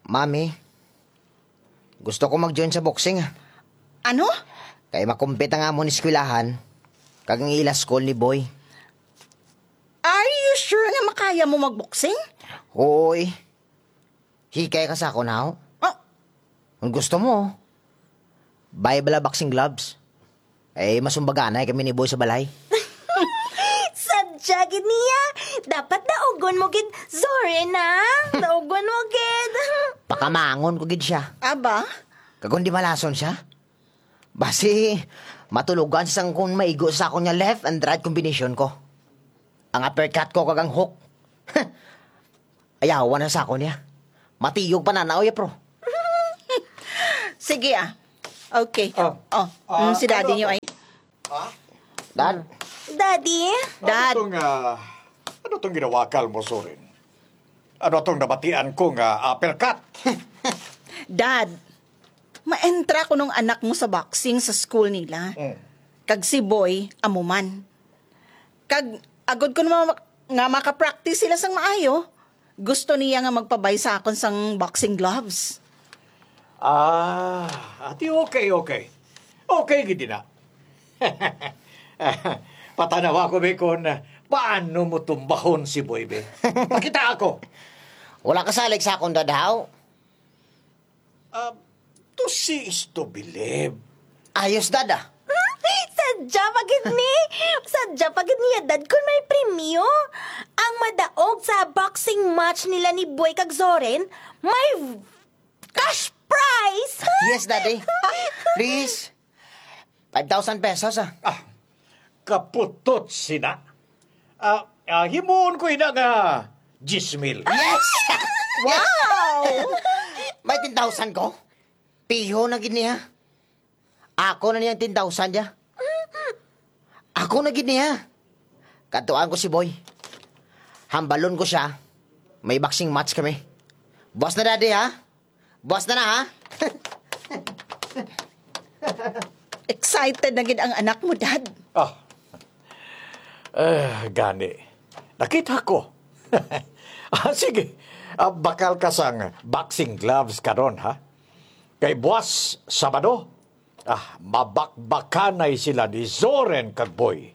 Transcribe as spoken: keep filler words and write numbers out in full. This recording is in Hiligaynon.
Mami, gusto ko mag-join sa boxing, ah. Ano? Kay makumpit ang amon eskwelahan kag ang ila school ni Boy. Are you sure nga makaya mo magboxing? Oo, eh. Hikay ka sa akon, haw? Oh. Kung gusto mo, buy bala boxing gloves. Eh, masumbaganay kami ni Boy sa balay. Sadya gid niya. Dapat daugon mo gid, Zoren, ha? Daugon mo gid. Pakamangon ko gid siya. Aba? Kag kung di malason siya, basi, matulogan sang kung maigo sa akon nga left and right combination ko. Ang uppercut ko kag ang hook. Ayawan na sa akon niya. Matiyog pa na na, oy, pro. Sige, ah. Okay. Oh. Oh, Ah, mm, si daddy ano niyo to? Ay. Ha? Dad. Daddy? Dad. Ano tong, ah, ano tong ginawakal mo, Zoren? Ano tong nabatian ko nga uppercut? Dad, maentra ko nung anak mo sa boxing sa school nila. Mm. Kag si Boy, amo man. Kag agod ko naman mak-, nga makapractice sila sang maayo, gusto niya nga magpabay sa akon sang boxing gloves. Ah, ati, okay, okay. Okay gid na. Patanawa ko, be, kon paano mo tumbahon si Boy, be. Pakita ako. Wala ka salig sa akon, Dad, haw? Ah, to see is to believe. Ayos, Dad, ah. Sadya pa gid ni. Sadya pa gid niya, Dad, kung may premyo. Ang madaog sa boxing match nila ni Boy kag Zoren, may cash prize. Yes, Daddy. Please. Five thousand pesos, ah. Ah, kaputot sina. Ah, ah, himuon ko ina nga diyes mil. Yes! Wow! May ten thousand ko. Piho na gid niya. Ako na niyang ten thousand niya. Ako na gid niya. Kadtuan ko si Boy. Hambalon ko siya. May boxing match kami. Buwas na, Daddy, ha? Buwas na na, ha? Excited na gid ang anak mo, Dad. Ah. Eh, gani. Nakita ko. Ah, sige. Ah, bakal ka sang boxing gloves karon, ha? Kay buwas, Sabado, ah, mabakbakanay sila ni Zoren kag Boy.